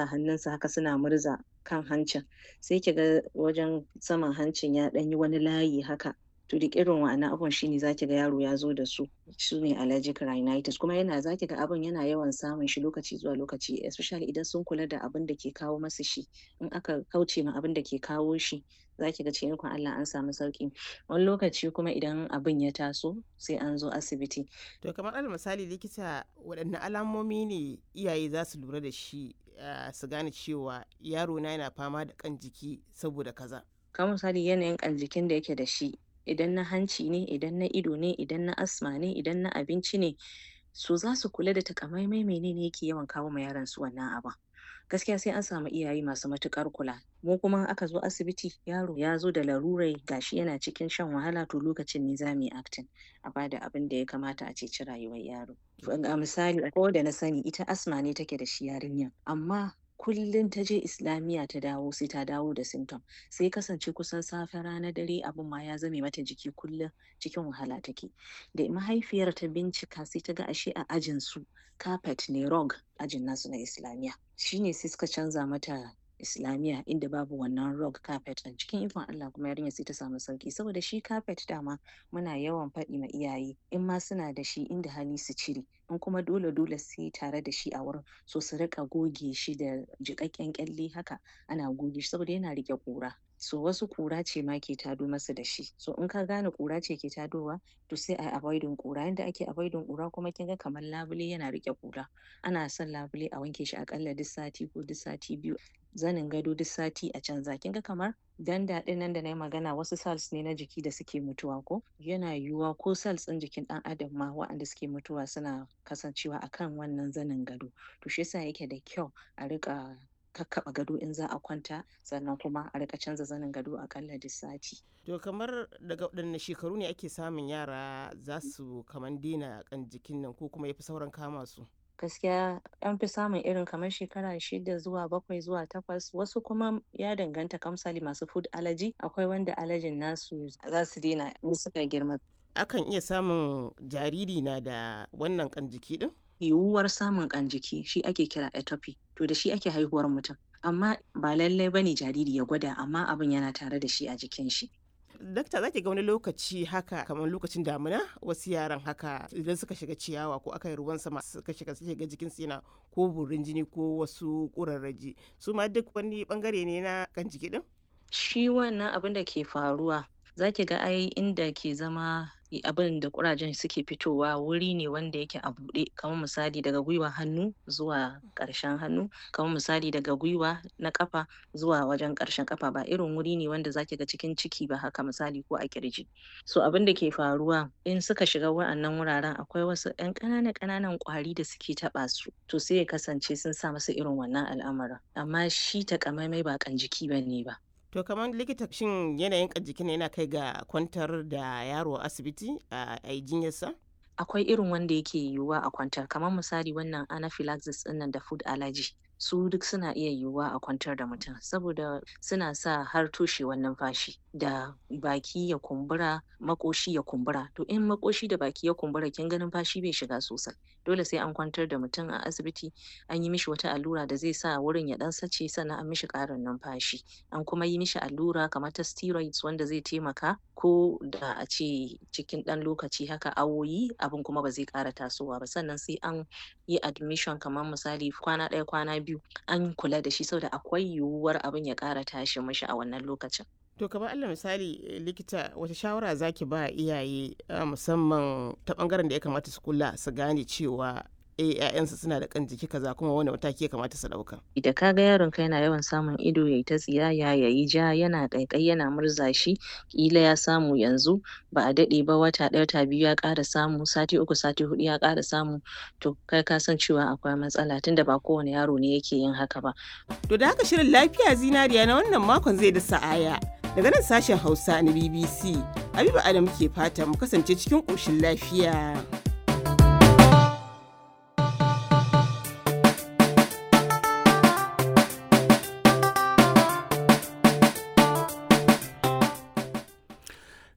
hannunsu haka suna murza kan hancin, sai ki ga wajen saman hancin ya ɗan yi wani layi haka. To duk irin wa'annan abubuwan shine zaki ga yaro ya zo da su, su ne allergic rhinitis. Kuma yana zaki ga abun yana yawan samun shi lokaci zuwa lokaci, especially idan sun kula da abin da ke kawo masu shi. In aka kauce ma abin da ke kawo shi, zaki ga cikin ikon Allah an samu sauƙi. Wani lokaci kuma idan abin ya taso, sai an zo asibiti. To kamar alal misali likita, waɗanne alamomi ne iyaye za su lura da shi su gane cewa yaro na yana fama da ƙan jiki saboda kaza? Kamar misali yanayin ƙan jikin da yake da shi, idan na hanci ne, idan na ido ne, idan na asma ne, idan na abinci ne, so za su kula da takamaimai menene yake yawan kawo ma yaron su wannan abun. Gaskiya sai an samu iyaye masu matuƙar kula. Mu kuma in aka zo asibiti, yaro ya zo da larurai gashi yana cikin shan wahala, to lokacin ne za mu yi acting, a bada abin da ya kamata a ceci rayuwar yaro. A misali akwai wanda na sani ita asma ne take da shi yarinyar, amma kullum ta je islamiyya ta dawo sai ta dawo da symptom. Sai kasance kusan safe, rana, dare abun ma ya zame mata jiki, kullum cikin wahala take. Da mahaifiyar ta bincika, sai ta ga ashe a ajin su carpet ne, rug, ajin nasu na islamiyya. Shine sai suka canza mata islamiyya inda babu wannan rug carpet ɗin. Cikin ikon Allah kuma yarinyar sai ta samu sauƙi, saboda shi carpet dama muna yawan faɗi ma iyaye, in ma suna da shi, inda hali su cire, in kuma dole dole sai tare da shi a wurin, so su riƙa goge shi da jiƙaƙƙen ƙyalle haka, ana goge shi saboda yana riƙe ƙura. So wasu ƙura ce ma ke tado masu da shi. So in ka gane ƙura ce ke tadowa, to sai ayi avoiding ƙura. Yanda ake avoiding ƙura kuma, kin ga kamar labule yana riƙe ƙura. Ana son labule a wanke shi aƙalla duk sati ko duk sati biyu. Zanin gado duk sati a canza. Kin ga kamar ganda ɗin nan da na yi magana, wasu cells ne na jiki da suke mutuwa ko? Yana yiwuwa ko cells ɗin jikin ɗan adam ma waɗanda suke mutuwa suna kasancewa a kan wannan zanin gado. To shi yasa yake da kyau a riƙa kakkaɓe gado in za a kwanta, sannan kuma a riƙa canza zanin gado aƙalla duk sati. To kamar daga waɗanne shekaru ne ake samun yara za su kaman daina ƙan jikin nan ko kuma yafi sauran kama su? Gaskiya an fi samun irin kamar shekara 6 zuwa 7 zuwa 8, wasu kuma ya danganta, kamar misali masu food allergy, akwai wanda allergy nasu za su daina in suka girma. Akan iya samun jariri na da wannan ƙan jiki ɗin? Yiwuwar samun ƙan jiki shi ake kira atopy, to da shi ake haihuwar mutum. Amma ba lallai bane jariri ya gwada, amma abin yana tare da shi a jikin shi. Dakta, za ki ga wani lokaci haka kamar lokacin damina, wasu yaran haka idan suka shiga ciyawa ko aka yi ruwan sama suka shiga, suka ga jikinsu yana ko burin jini ko wasu ƙurarraji, su ma duk wani bangare ne na kan jiki din? Shi wannan abin da ke faruwa, za ki ga ai inda ke zama abin da ƙurajen suke fitowa wuri ne wanda yake a buɗe, kamar misali daga gwiwa hannu zuwa ƙarshen hannu, kamar misali daga gwiwa na ƙafa zuwa wajen ƙarshen ƙafa, ba irin wuri ne wanda zaki ga cikin ciki ba haka misali ko a ƙirji. So abin da ke faruwa, in suka shiga wa'annan wuraren, akwai wasu ƴan ƙananan ƙananan ƙwari da suke taɓa su, to sai ya kasance sun sa musu irin wannan al'amarin. Amma shi takamaimai ba ƙan jiki bane ba. To kamar likita, shin yanayin ƙan jikin yana kai ga kwantar da yaro a asibiti a yi jinyarsa? Akwai irin wanda yake yiwuwa a kwantar, kamar misali wannan anaphylaxis ɗinnan da food allergy, su duk suna iya yiwuwa a kwantar da mutum saboda suna sa har toshewar numfashi da baki ya kumbura, maƙoshi ya kumbura. To in maƙoshi da baki ya kumbura, kin ga numfashi bai shiga sosai. Dole sai an kwantar da mutum a asibiti, an yi mishi wata allura da zai sa wurin ya ɗan sace, sannan an mishi ƙarin numfashi. An kuma yi mishi allura kamar ta steroids wanda zai taimaka ko da a ce cikin ɗan lokaci haka, awoyi, abin kuma ba zai ƙara tasowa ba. Sannan sai an yi admission kamar misali kwana ɗaya, kwana biyu, an kula da shi saboda akwai yiwuwar abin ya ƙara tashi mishi a wannan lokacin. To kamar alal misali likita, wata shawara zaki ba iyaye, musamman ta bangaren da ya kamata su kula su gane cewa 'ya'yansu suna da kan jiki kaza, kuma wani mataki ya kamata su ɗauka? Da ka ga yaronka yana yawan samun ido yayi ta tsiyaya, yayi ja, yana ƙaiƙayi, yana murza shi, ƙila ya samu yanzu, ba a daɗe ba, wata ɗaya, wata biyu ya ƙara samu, sati 3, sati 4 ya ƙara samu, to kai ka san cewa akwai matsala, tunda ba kowane yaro ne yake yin haka ba. To da haka shirin lafiya zinariya na wannan makon zai da sa'aya. Daga nan sashen Hausa na BBC, Habiba Adam ke fata mu kasance cikin ƙoshin lafiya.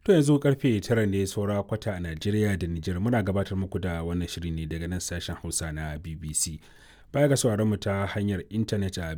To yanzu karfe 9 ne saura kwata a Najeriya da Nijar, muna gabatar muku da wannan shiri ne daga nan sashen Hausa na BBC. Baya ga sauraron mu ta hanyar intanet a